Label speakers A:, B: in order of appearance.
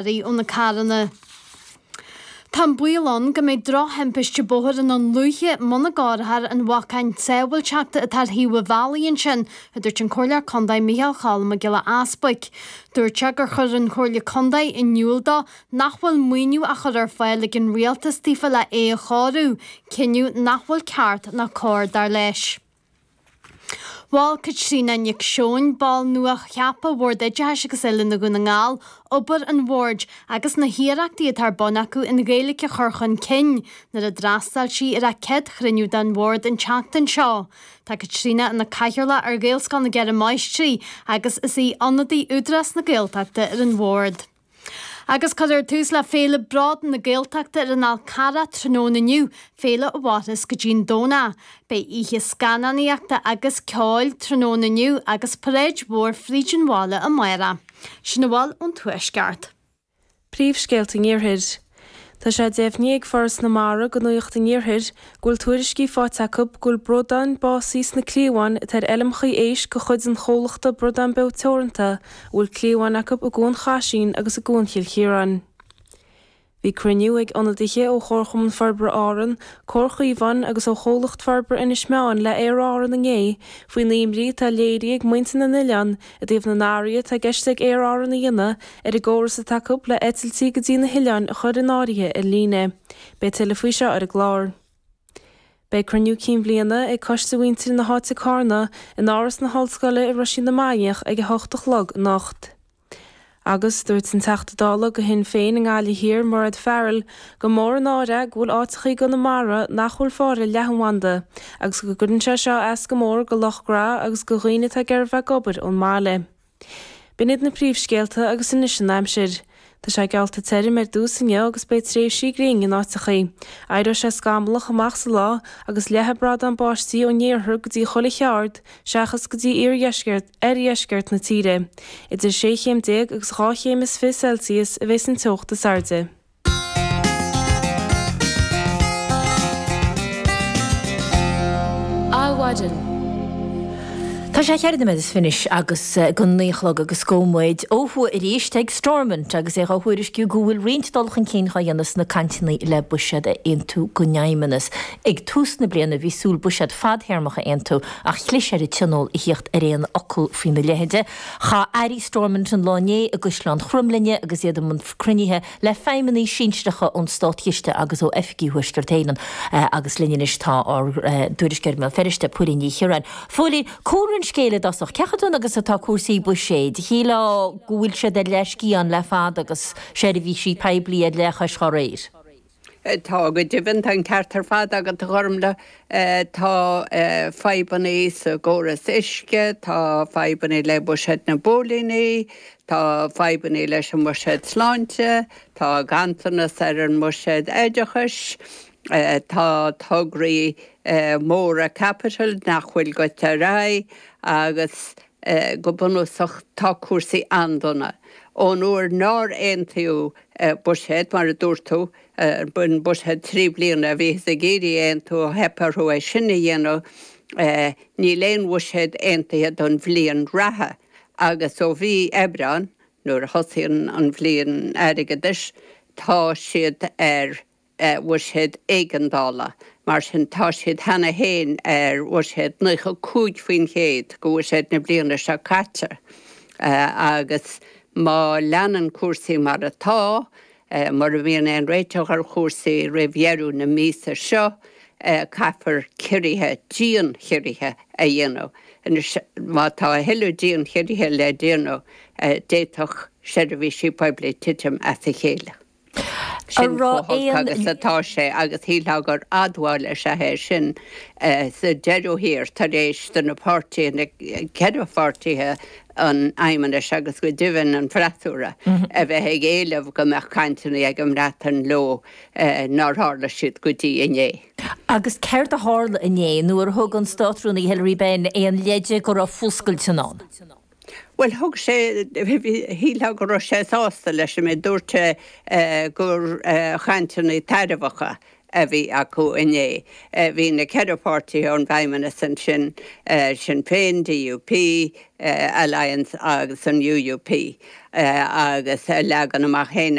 A: Ó na carranna. Tá an baol ann go mbeidh drochthimpiste bóthair i nDún Lúiche muna gcóireofar an bhacáin sábháilteachta atá ar thaobh an bhealaigh ansin, a dúirt an Comhairleoir Contae Micheál Cholm Mac Giolla Easbuic. Dúirt sé gur chuir an Chomhairle Contae in iúl dó nach bhfuil maoiniú á chur ar fáil ag an Rialtas daofa le é a chóiriú, cinneadh nach bhfuil ceart ná cóir dar leis. Mhol Caitríona Nic Seoin, ball nua-cheaptha Bhord Oideachais agus Oiliúna Dhún na nGall, obair an Bhoird agus na hiarrachtaí atá ar bun acu an Ghaeilge a chur chun cinn nuair a d'fhreastail sí ar a céad chruinniú den Bhord an tseachtain seo. Tá Caitríona ina cathaoirleach ar Ghaelscoil na gCeithre Máistrí agus is í ionadaí Údarás na Gaeltachta ar an Bhord. Agus cuirfear tús le Féile Bród na Gaeltachta ar an Fhál Carrach tráthnóna inniu, féile a mhairfeas go dtí'n Domhnach. Beidh oíche scannánaíochta agus ceoil tráthnóna inniu agus paráid mhór fríd an bhaile amárach. Sin a bhfuil ón Tuaisceart.
B: Príomhscéalta an Iarthair. Tá sé deimhnithe ag Foras na Mara do Nuacht an Iarthair go bhfuil tuairiscí faighte acu go bhfuil bradáin básaithe sna cliabháin atá ar fheilmeacha éisc de chuid an chomhlachta Bradán Beo Teoranta a bhfuil cliabháin acu i gCuan Chaisín agus i gCuan Chill Chiaráin. Bhí cruinniú ag ionadaithe ó Chomharchumann Forbartha Árann, Comhar Chaomháin agus ó Chomhlacht Forbartha Inis Meáin le Aer Árann inné faoin imní atá léirithe ag muintir na n-oileán i dtaobh na n-athruithe atá i gceist ag Aer Árann a dhéanamh ar an gcóras atá acu le eitiltí go dtí na hoileáin a chur in áirithe ar líne. Beidh tuilleadh faoi seo ar an gclár. Beidh cruinniú cinn bhliana ag Coiste Mhuintir na hÁite Cárna in Áras na hOllscoile i Roisín na Mainiach ag 8 a chlog anocht. Agus dúirt an Teachta Dála do Shinn Féin i nGaillimh Thiar, Mairéad Farrell, gur mór an náire é go bhfuil áiteachaí i gConamara nach bhfuil fáil ar leathanbhanda agus go gcuireann sé seo as go mór do lucht gnó agus do dhaoine atá ag iarraidh bheith ag obair ón mbaile. B'in iad na príomhscéalta agus anois an aimsir. Tá sé geallta tirim ar dtús inniu agus beidh tréimhsí gréine in áiteachaí. Éireoidh sé scamallach amach sa lá agus leathfaidh bradáin báistí ón iarthar go dtí chuile cheard seachas go dtí iardheisceart oirdheisceart na tíre. Idir 16 chéim agus 2 chéim is 20 Celsius a bheas an teocht is airde.
C: Adhmhaidin.
D: Tá sé cheithre nóiméad is fiche anois go naoi a chlog agus gabhfaidh muid ó thuaidh arís ag Stormont agus é dhá thuairisciú go bhfuil roinnt dul chun cinn dhá dhéanamh sna cainteanna le buiséad a aontú don Fheidhmeannas. Ag tús na bliana bhí súil buiséad fadthéarmach a aontú ach chlis ar an Tionól a thíocht ar aon fhocal faoina leithide. Chaith airí Stormont an lá inné i gCaisleán Chromghlinne agus iad i mbun cruinnithe le feidhmeannaigh sinsearacha ón Státchiste agus ó oifigí Thuaisceart Éireann. Agus linn anois tá ár dtuairisceoir i mBéal Feirste, Póilín Ní Chiaráin. Phóilín, cúlra an scéil i dtosach. Cén chaoi agus atá cúrsaí buiséid? Shílfeá go bhfuil siad ar leathsciathán le fada agus seirbhísí poiblí ar leathchois dá réir.
E: Tá, go deimhin, tá an ceart ar fad agat, a Ghormlaith. Tá fadhbanna sa gcóras uisce, tá fadhbanna le buiséad na bpóilíní, tá fadhbanna leis an mbuiséad sláinte, tá ganntanas ar an mbuiséad oideachais, tá tograí móra caipitil nach bhfuil goite ar aghaidh agus go bunúsach tá cúrsaí an-dona. Ón uair nár aontaíodh buiséad, mar a dúirt tú, an buiséad 3 bliana a bhíothas ag iarraidh a aontú, theip orthu é sin a dhéanamh. Níl aon bhuiséad aontaithe don bhliain reatha agus ó mhí Aibreáin, nuair a thosaíonn an bhliain airgeadais, tá siad ar bhuiséad éigeandála. Mar sin, tá siad cheana féin ar bhuiséad 95% de bhuiséad na bliana seo caite agus má leanann cúrsaí mar atá, mura mbíonn aon réiteach ar chúrsaí roimh dheireadh na míosa seo, caithfear ciorruithe, dian-chiorruithe a dhéanamh. Anois, má tá a thuilleadh dian-chiorruithe le déanamh, d'fhéadfadh seirbhísí poiblí titim as a chéile. Sin chomh holc agus atá sé agus shílfeá gur admháil is ea é sin sa deireadh thiar tar éis do na páirtithe, na ceithre pháirtithe an Fheidhmeannais agus go deimhin an freasúra, a bheith ag éileamh go mbeadh cainteanna ag an mBreatain leo nár tharla siad go dtí inné.
D: Agus céard a tharla inné nuair a thug an Státrúnaí Hilary Benn aon leide go raibh fuascailt i ndán?
E: Bhuel, thug sé, shílfeá go raibh sé sásta leis an méid, dúirt sé gur chainteanna tairbheacha. a bhí acu inné. Bhí na 4 pháirtithe ón bhFeidhmeannas ansin, Sinn Féin, DUP, Alliance agus an UUP, agus a leagan amach féin.